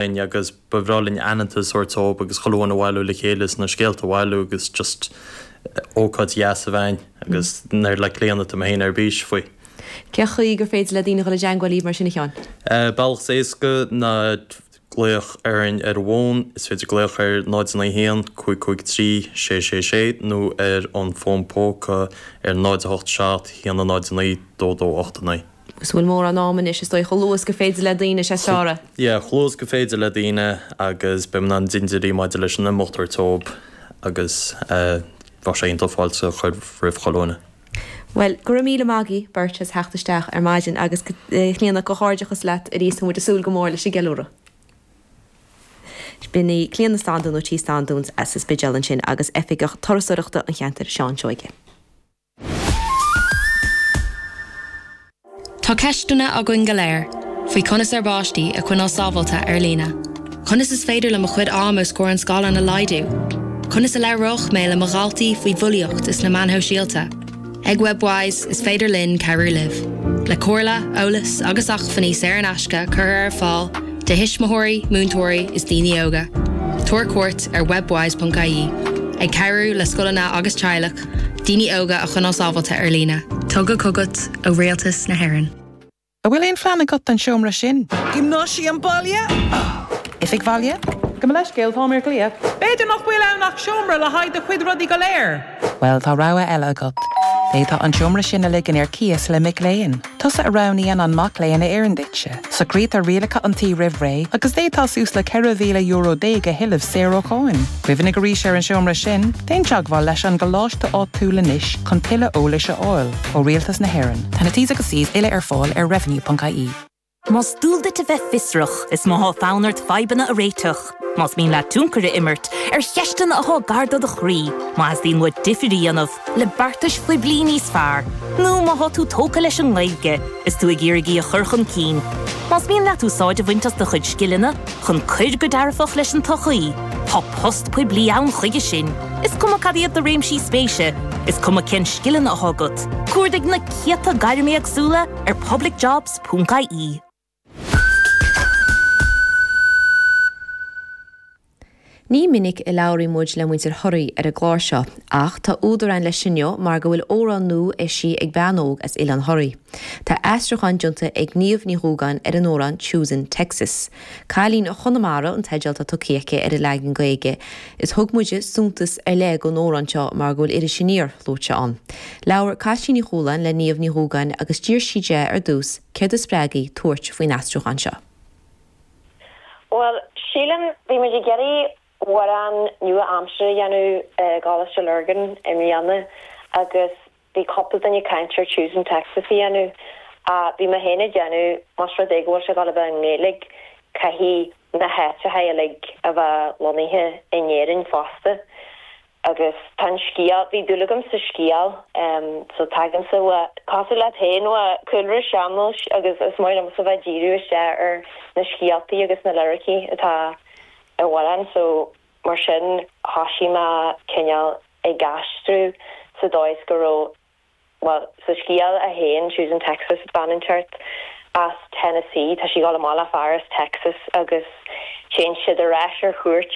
Linn agus ba bhreá linn aitheantas a thabhairt dóibh agus chuile dhuine a bhailiú le chéile is na scéalta a bhailiú agus just ócáid dheas a bheith ann agus nuair le Clíona tá mé féin ar bís faoi. Cén chaoi gur féidir le daoine dhul i dteangmháil libh mar sin a Sheáin? Bealach is éasca ná glaoch orainn ar an bhfón, is féidir glaoch ar 0 9 1 5 5 3 6 6 6 nó ar an bhfón póca ar 0 8 7 1 0 9 2 2 8 9. Agus an bhfuil mórán ama anois, is dóigh, chomh luath is gur féidir le daoine, is fearr é. Yeah, chomh luath is gur féidir le daoine agus beidh muid in ann dintiúirí maidir leis an imeacht a thabhairt dóibh agus bheadh sé iontach fáilte a chur roimh chuile dhuine. Bhuel, go raibh míle maith agaibh beirt as theacht isteach ar maidin agus a Chlíona, comhghairdeachas leat arís, tá muid ag súil go mór leis an gceiliúradh. B'in í Clíona Standún ó Tí Standún's as an Spidéal ansin agus Oifigeach Turasóireachta an cheantair, Seán Seoige. Tá ceisteanna againn go léir faoi conas ár bpáistí a choinneáil sábháilte ar líne. Conas is féidir liom mo chuid am os comhair an scáileáin a laghdú? Conas a labhróidh mé le mo dhaltaí faoi bhulaíocht is na meáin shóisialta? Ag Webwise, is féidir linn cabhrú libh. Le comhairle, eolas agus acmhainní saor in aisce curtha ar fáil do thuismitheoirí, múinteoirí is daoine óga. Tabhair cuairt ar webwise.ie, ag cabhrú le scoileanna agus teaghlaigh, daoine óga a choinneáil sábháilte ar líne. Tugtha chugat ó Rialtas na hÉireann. An bhfuil aon phlean agat don seomra sin? Giomnáisiam baile? Oifig bhaile? Gabh mo leithscéal, táim ar glaoch. B'fhéidir nach bhfuil ann ach seomra le haghaidh do chuid rudaí go léir. Bhuel, tá rogha eile agat. D'fhéadfá an seomra sin a ligean ar cíos le mic léinn. Tusa a roghnaíonn an mac léinn a oireann duitse. Socraítear rialacha an tí roimh ré agus d'fhéadfá suas le €14,000 a thuilleamh saor ó cháin. Cuimhnigh arís ar an seomra sin, déan teagmháil leis an gcoláiste áitiúil anois chun tuilleadh eolais a fháil. Ó Rialtas na hÉireann. Tá na T's agus C's uile ar fáil ar revenue.ie. Más dual duit a bheith fiosrach, is má thá fonn ort fadhbanna a réiteach, más mian leat tionchar a imirt ar cheisteanna athá gar do do chroí, má theastaíonn uait difir a dhéanamh le beartais phoiblí níos fearr, nó má thá tú tógtha leis an nGaeilge is tú ag iarraidh í a chur chun cinn, más mian leat úsáid a bhaint as do chuid scileanna chun cuir go dearfach leis an tsochaí, tá post poiblí ann chuige sin. Is cuma cad iad do réimsí spéise, is cuma cén scileanna athá agat, cuardaigh na céadta gairm éagsúla ar publicjobs. Ponc-IE. Ní minic a labhraíonn muid le muintir Thoraí ar an gclár seo, ach tá údar ann leis inniu mar go bhfuil amhrán nua eisithe ag bean óg as Oileán Thoraí. Tá aistriúchán déanta ag Niamh Ní Dhúgáin ar an amhrán Choosing Texas. Cailín Chonamara an teideal atá tugtha aici ar an leagan Gaeilge Is thug muide suntas ar leith don amhrán seo mar go bhfuil Iris Aniar luaite ann. Labhair Caitlín Ní Chualáin le Niamh Ní Dhúgáin agus d'iarr sí di ar dtús céard a spreag í tabhairt faoin aistriúchán seo. Bhuel, sílim, bhí muid ag iarraidh amhrán nua-aimseartha a dhéanamh i gColáiste Lurgan i mbliana agus bhí cúpla duine ag caint ar Choosing Texas a dhéanamh ach bhí mé féin ag déanamh más rud é go bhfuil sé ag dul a bheith i nGaeilge caithfidh na háiteacha uilig a bheith lonnaithe in Éirinn fosta agus tá an scéal, bhí dúil agam sa scéal so tagaimse ó, cosúil leat féin, ó chúlra sean-nóis agus is maith liomsa bheith ag díriú isteach ar na scéaltaí agus na liricí atá i amhrán so mar sin thoisigh mé cineál ag aistriú sa dóigh is go raibh, bhuel, sa scéal é féin, Choosing Texas, bean inteacht as Tennessee, tá sí ag dul amach le fear as Texas agus téann siad ar ais ar chuairt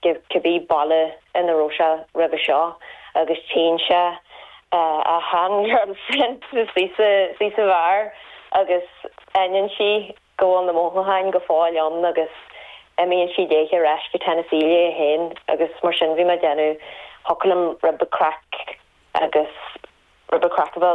go cibé baile ina raibh sé roimhe seo agus tchíonn sé a shean-girlfriend istigh sa bheár agus aithníonn sí go bhfuil na mothúcháin go fóill ann agus imíonn sí léithe ar ais go Tennessee léi féin agus mar sin bhí mé ag déanamh thiocfadh liom rud beag craic agus rud beag craic a bheith.